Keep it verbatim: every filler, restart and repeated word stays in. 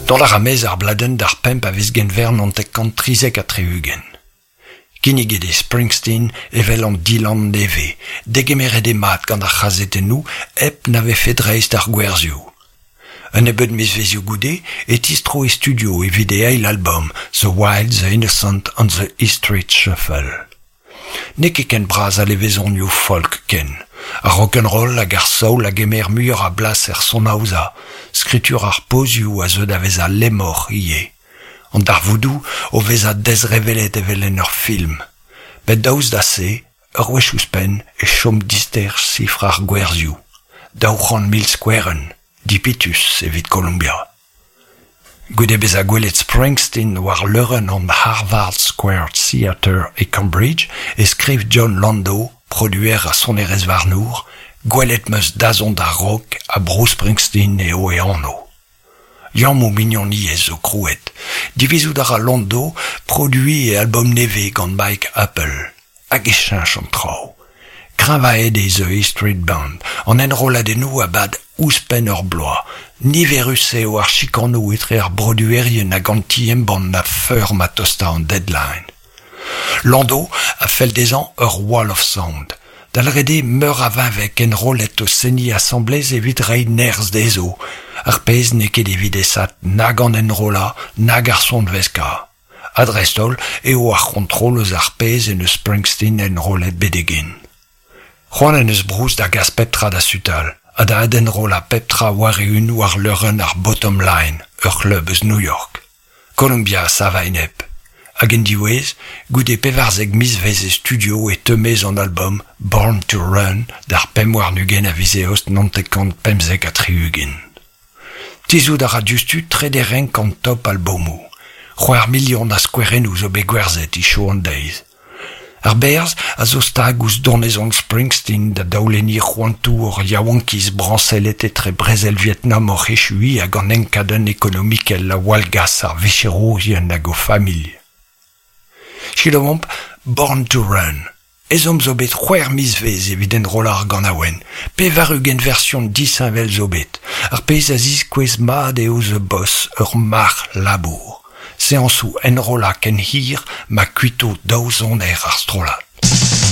Dont a ra maez ar bladenn d'ar pemp a viz Genver naontek kant trizek ha tri-ugent. Kinniget eo Springsteen evel an Dylan nevez, degemeret eo mat gant ar c'hazetennoù hep na vefe dreist ar gwerzhioù. Un nebeud mizvezhioù goude e tistro e studio evit e eil album The Wild, The Innocent and The E Street Shuffle. N'eo ket ken bras al levezonioù folk ken. Ar rock'n'roll hag ar soul a gemer muioc'h a blas er sonaozañ, skritur ar pozioù a zeu da vezañ lemmoc'h ivez. An darvoudoù o vezañ dezrevellet evel en ur film. Met daoust da se, ur wech ouzhpenn e chom dister sifr ar gwerzhioù. Daou c'hant mil skouerenn, dipitus evit Columbia. Goude bezañ gwelet Springsteen war leurenn an Harvard Square Theatre e Cambridge e skriv Jon Landau, produer ha sonerezhvarnour, gwelet 'm eus dazont ar rock ha Bruce Springsteen eo e anv. Liammoù mignoniezh zo krouet. Divizout a ra Landau produiñ e album nevez gant Mike Appel. Hag e cheñch an traoù. Kreñvaet eo The E Street Band, an enrolladennoù a bad ouzhpenn ur bloaz. Niverus eo ar chikanoù etre ar broduerien hag an ti-embann a-feur ma tosta an deadline. Landau a fell dezhañ ur wall of sound. Da lâret eo meur a veñveg enrollet o seniñ asambles evit reiñ nerzh dezho, ar pezh n'eo ket evit aesaat nag an enrollañ nag ar sonveskañ. Ha dreist-holl eo ar c'hontrol eus ar pezh en deus Springsteen enrollet betek-henn. C'hoant en deus Bruce da gas pep tra da sutal ha da adenrollañ pep tra war-eeun war leurenn ar Bottom Line, ur c'hleub eus New York. Columbia a sav a-enep. Hag en diwezh, goude pevarzek mizvezh e studio e teu maez an album Born to Run d'ar pemp warn-ugent a viz Eost naontek kant pemzek ha tri-ugent. Tizhout a ra diouzhtu trede renk an top albomoù. C'hwec'h milion a skouerennoù zo bet gwerzhet hiziv an deiz. Ar berzh a zo stag ouzh donezon Springsteen da daolenniñ c'hoantoù hor yaouankiz brañsellet etre brezel Vietnam oc'h echuiñ hag an enkadenn ekonomikel a wallgas ar vicherourien hag o familh. Selaouomp Born to Run. Ezhomm zo bet c'hwec'h mizvezh evit enrollañ ar ganaouenn. Pevar-ugent version disheñvel zo bet. Ar pezh a ziskouez mat eo The Boss ur marc'h labour. Seañsoù enrollañ ken hir ma kuito daou soner ar strollad.